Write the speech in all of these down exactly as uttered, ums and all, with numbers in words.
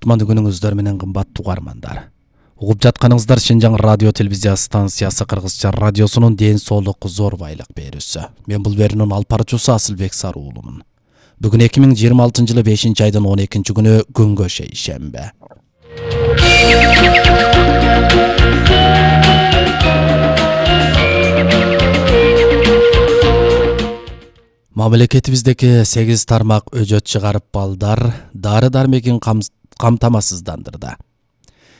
Кутмандуу күнүңүздөр менен кымбаттуу угармандар. Угуп жатканыңыздар Шенжаң радио телевизия станциясы Кыргызча радиосунун ден соолук зор байлык берүүсү. Мен бул берүүнүн алып баруучусу Асылбек Саруулумун. Бүгүн эки миң жыйырма алтынчы жылы бешинчи айдын он экинчи күнү күнгө шейшембе. Мамлекетибиздеги сегиз тармак өжөт чыгарып балдар дары-дармегин камтамасыздандырды.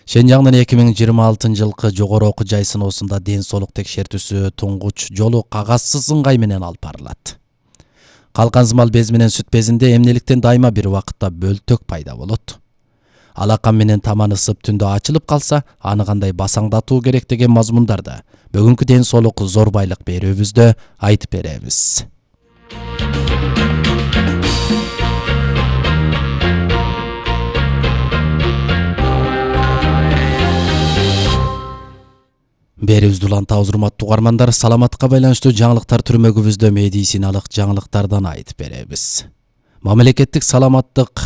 Шенжаңдын эки миң жыйырма алтынчы жылкы жогору окуу жай сыноосунда ден соолук текшертүүсү туңгуч жолу кагазсыз ыңгай менен алып барылат. Калкан сымал без менен сүт безинде эмнеликтен дайыма бир убакытта бөлтөк пайда болот. Алакан менен таман ысып түндө ачылып калса, аны кандай басаңдатуу керек деген мазмундарды бүгүнкү ден соолук зор байлык берүүбүздө айтып беребиз. Берүүбүздү улантабыз, урматтуу угармандар. Саламатка байланыштуу жаңылыктар түрмөгүбүздө медициналык жаңылыктардан айтып беребиз. Мамлекеттик саламаттык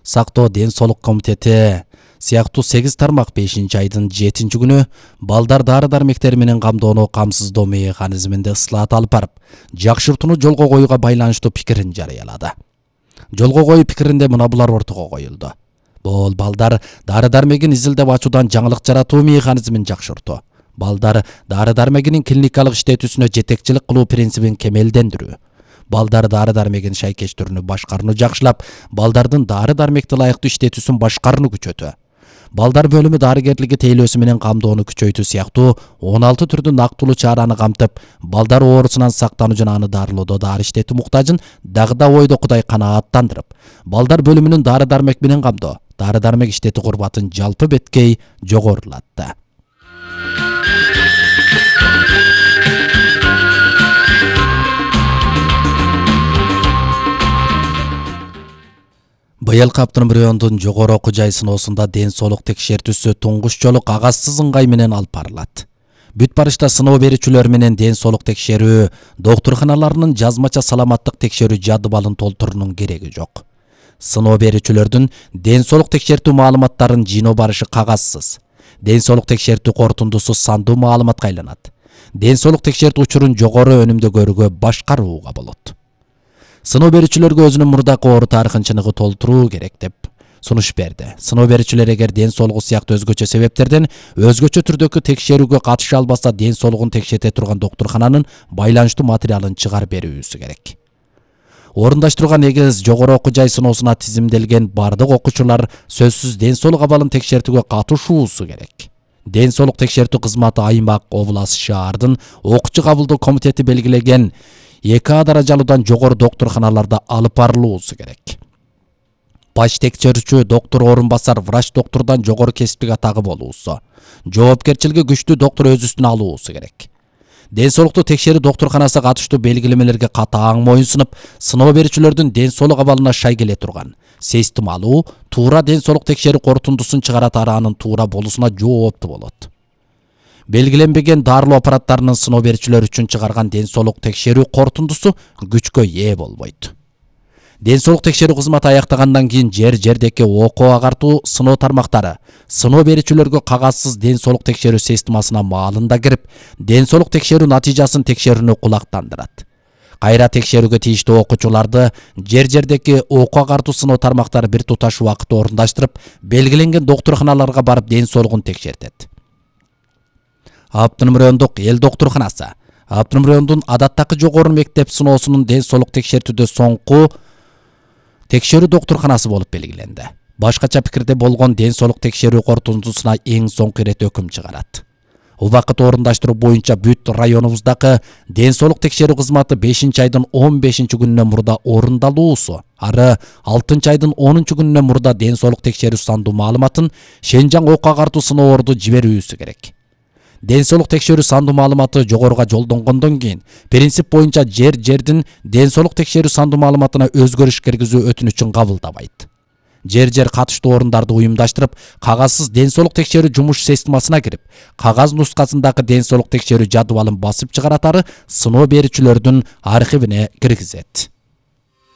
сактоо ден соолук комитети сыяктуу сегиз тармак бешинчи айдын жетинчи күнү балдар дары-дармектери менен камдоону камсыздоо механизминде ысылат алып барып, жакшыртууну жолго коюуга байланыштуу пикирин жарыялады. Жолго коюу пикиринде мына булар ортого коюлду. Бул балдар дары-дармегин изилдеп ачуудан жаңылык жаратуу механизмин жакшыртуу. Балдар дары-дармегинин клиникалык иштетүүсүнө жетекчилик кылуу принцибин кемелдендирүү. Балдар дары-дармегин шайкеч түрүнү башкарууну жакшылап, балдардын дары-дармекти ылайыктуу иштетүүсүн башкарууну күчөтүү. Балдар бөлүмү дарыгерлиги тейлөөсү менен камдоону күчөйтүү сыяктуу он алты түрдүү нактылуу чараны камтып, балдар оорусунан сактануу жана аны дарылоодо дары иштетүү муктажын дагы да ойдокудай канааттандырып, балдар бөлүмүнүн дары-дармек менен камдоо, дары-дармек иштетүү курбатын жалпы беткей жогорулатты. Быйылкы Автономриондун жогору окуу жай сыноосунда ден соолук текшертүүсү туңгуч жолу кагазсыз ыңгай менен алып барылат. Бүт барышта сыноо берүүчүлөр менен ден соолук текшерүү доктурканаларынын жазмача саламаттык текшерүү жадыбалын толтуруунун кереги жок. Сыноо берүүчүлөрдүн ден соолук текшертүү маалыматтарын жыйноо барышы кагазсыз. Ден соолук текшертүү корутундусу сандуу маалыматка айланат. Ден соолук текшертүү учурун жогору өнүмдө көрүүгө башкарууга болот. Сыноо берүүчүлөргө өзүнүн мурдакы оору тарыхын чыныгы толтуруу керек деп сунуш берди. Сыноо берүүчүлөр эгер ден соолугу сыяктуу өзгөчө себептерден өзгөчө түрдөгү текшерүүгө катыша албаса, ден соолугун текшерте турган доктуркананын байланыштуу материалын чыгарып берүүсү керек. Орундаштырууга негиз жогору окуу жай сыноосуна тизимделген бардык окуучулар сөзсүз ден соолук абалын текшертүүгө катышуусу керек. Ден соолук текшертүү кызматы аймак, область, шаардын окуучу кабылдоо комитети белгилеген эки А даражалуудан жогору доктурканаларда алып барылуусу керек. Баш текшерүүчү доктур орун басар врач доктурдан жогору кесиптик атагы болуусу, жоопкерчилиги күчтүү доктур өз үстүнө алуусу керек. Ден соолукту текшерүү доктурканасы катыштуу белгилемелерге катаң моюнсунуп, сыноо берүүчүлөрдүн ден соолук абалына шай келе турган, системалуу, туура ден соолук текшерүү корутундусун чыгарат араанын туура болуусуна жооптуу болот. Белгиленбеген дарылоо аппараттарынын сыноо берүүчүлөр үчүн чыгарган ден соолук текшерүү корутундусу күчкө ээ болбойт. Ден соолук текшерүү кызматы аяктагандан кийин жер-жердеки окуу агартуу сыноо тармактары сыноо берүүчүлөргө кагазсыз ден соолук текшерүү системасына маалында кирип, ден соолук текшерүү натыйжасын текшерүүнү кулактандырат. Кайра текшерүүгө тийиштүү окуучуларды жер-жердеки окуу агартуу сыноо тармактары бир туташ убакытта орундаштырып, белгиленген доктурканаларга барып ден соолугун текшертет. Автономриондук эл доктурканасы Автономриондун адаттагы жогору мектеп сыноосунун ден соолук текшертүүдө соңку текшерүү доктурканасы болуп белгиленди. Башкача пикирде болгон ден соолук текшерүү корутундусуна эң соңку ирет өкүм чыгарат. Убакыт орундаштыруу боюнча бүт районубуздагы ден соолук текшерүү кызматы бешинчи айдын он бешинчи күнүнөн мурда орундалуусу, ары алтынчы айдын онунчу күнүнөн мурда ден соолук текшерүү сандуу маалыматын Шенжаң окуу агартуу сыноорду жиберүүсү керек. Ден соолук текшерүү сандуу маалыматы жогоруга жолдонгондон кийин принцип боюнча жер-жердин ден соолук текшерүү сандуу маалыматына өзгөрүш киргизүү өтүнүчүн кабылдабайт. Жер-жер катыштуу орундарды уюмдаштырып, кагазсыз ден соолук текшерүү жумуш системасына кирип, кагаз нускасындагы ден соолук текшерүү жадыбалын басып чыгаратары сыноо берүүчүлөрдүн архивине киргизет.